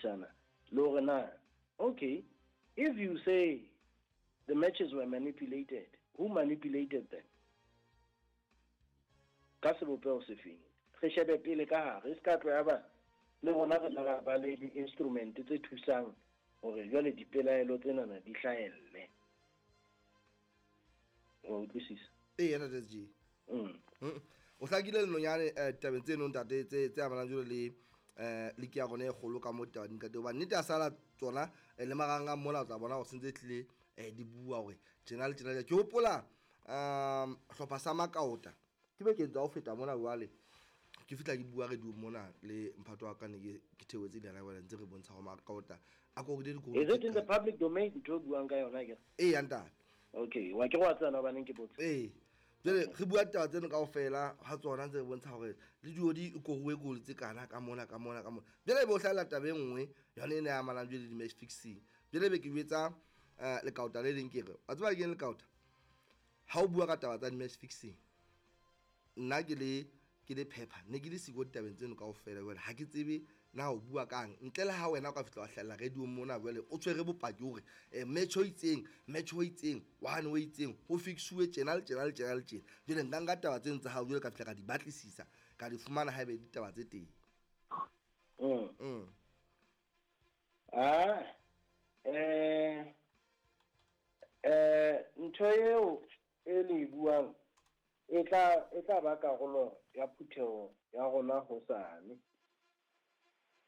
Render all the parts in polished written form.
shebisana le hore na okay, if you say the matches were manipulated, who manipulated them? Ka sebopeho sefeng? Re shebe pele ka hare, e se ka tlo ya ba le rona re tla ba le di-instrument tse thusang hore jwale dipelaelo tsenana di hlahelle. Wa utlwisisa? Ee, ntate SG. O hlakile lenonyane tabeng tseno ntate tse amanang jwalo le liki ya rona e kgolo ka mo taba ntate, hobane nnete a sala tsona le marang a mona o tla bona hore sentse tlile di bua hore tjena le tjena. Ke hopola hlopha sa Makaota ke bekeng tsa ho feta mona jwale ke fihla ke bua radio mona le mphato wa ka ne ke theohetse le yena jwale ntse re bontsha hore Makaota a korile dikolo. Is it in the public domain ntho o buang ka yona ke? Ee, ntate. Okay, wa ke go tsena ba neng ke botsa. Ee. Jwale re bua taba tseno kaofela ha tsona ntse re bontsha hore le dio di koruwe goal tse kana ka mona ka mona ka mona. Jwale e be o hlahella taba e nngwe yona e ne e amanang jwale le di-match fixing. Jwale be ke jwetsa lekaota le leng ke re, wa tseba ke eng lekaota? Ha o bua ka taba tsa di-match fixing, nna ke le phepha ne ke le siko ditabeng tseno kaofela jwale ha ke tsebe na o bua kang ntle le ha wena o ka fihla wa hlahella radio mona jwale o tshwere bopaki hore match o itseng, match o itseng, one o itseng ho fixuwe tjena le tjena le tjena le tjena. Jwale nka nka taba tseno tsa hao jwale ka fihla ka di batlisisa ka di fumana haebe ditaba tse teng. Ntho eo e le e buang e tla ba karolo ya phutheho ya rona hosane.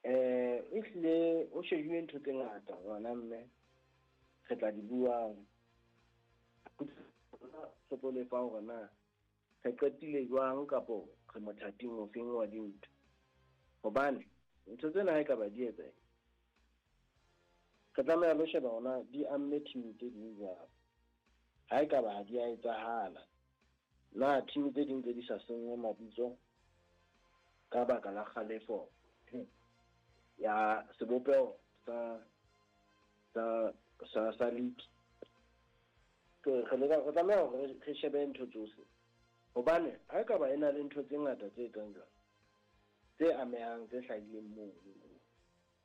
Ehlile o shejuwe ntho tse ngata ngwana mme re tla di buang. Re tlo lefa hore na re qetile jwang kapo re mothating ofeng wa dintho. Hobane ntho tsena ha e ka ba di etsa, re tlameha lo sheba hona di amme team tse ding jwang. Ha e ka ba ha di a etsahala, na team tse ding tse di sa senngwe mabitso ka baka la kgalefo ya sebopeho sa league. Re tlameha hore re shebe ntho tsohle. Hobane ha e ka ba e na le ntho tse ngata tse etsang jwalo, tse amehang, tse hlahileng moo,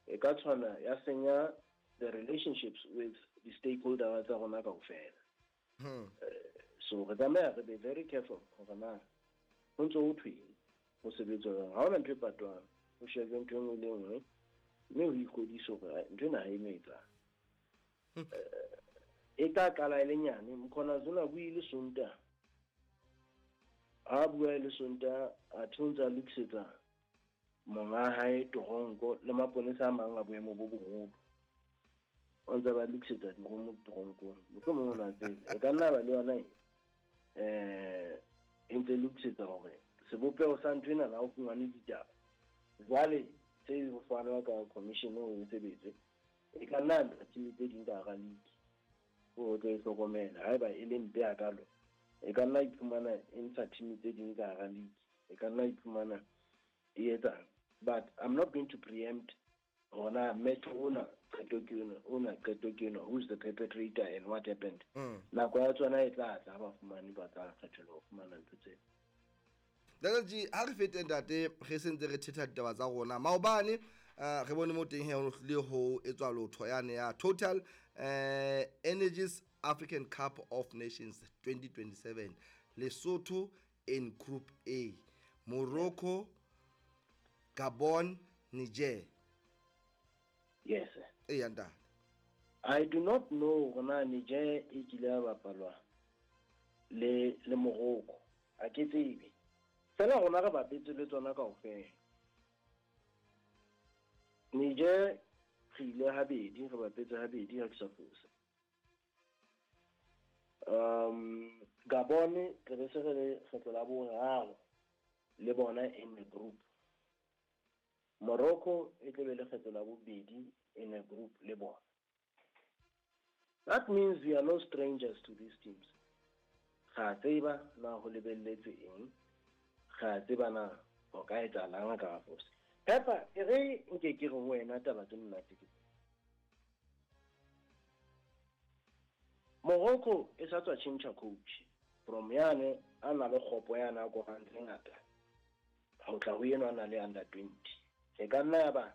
e ka tshwana ya senya the relationships with the stakeholders tsa rona kaofela. So re tlameha re be very careful hore na ho ntso ho thweng, ho sebetswa jwang. Ha hona ntho e patwang, ho shejwe ntho e nngwe le e nngwe, mme ho ikgodise hore ntho ena ha e no etsang. E tla qala e le nyane. Mkhona Zuna buile Sontaha. Ha bua e le Sontaha, athe o ntse a lokisetsa monga hae toronko le maponesa a mang a boemo bo boholo. O ntse ba lokisetsa diromo toronkong. Mohlomong o na tsebe. E ka nna ba le yona e ntse lokisetsa hore sebopeho sa ntho ena na o fumane ditaba. Jwale tse ho fanwa ka commission o e sebetse, e ka nna ntsha team tse ding ka hara league. O tlo e hlokomela haeba e le mpe hakalo, e ka nna iphumana e ntsha team tse ding ka hara league. E ka nna iphumana e etsang. But I'm not going to preempt hona match ona qeto ke yona, ona qeto ke yona, who's the perpetrator and what happened. Nako ya tsona e tla tla ba fumane ba tla kgethelwa ho fumana ntho tseo. Ntate G, ha re fete ntate, re sentse re thetha ditaba tsa rona. Maobane re bone mo teng he ho hlile ho etswa lotho yane ya Total Energies African Cup of Nations 2027, Lesotho in Group A, Morocco, Gabon, Niger. Yes. Ee, ntate. I do not know hore Niger e kile ya bapalwa le Morocco. Ha ke tsebe. Fela rona re bapetse le tsona kaofela. Niger re ile habedi, re bapetse habedi ha ke sa fosa. Gabon re be se re le kgetlo la boraro le bona in the group. Morocco e tlo be le kgetlo la bobedi in a group le bona. That means we are no strangers to these teams. Ga tseba na ho lebelletswe eng, ga tseba na ho ka etsahalang ka fosa. Pepper, e re nke ke re ho wena taba tse monate ke. Morocco e sa tswa tjhentjha coach from yane a na le kgopo yana a korang tse ngata ho tla ho enwa a na le under 20. E ka nna ya ba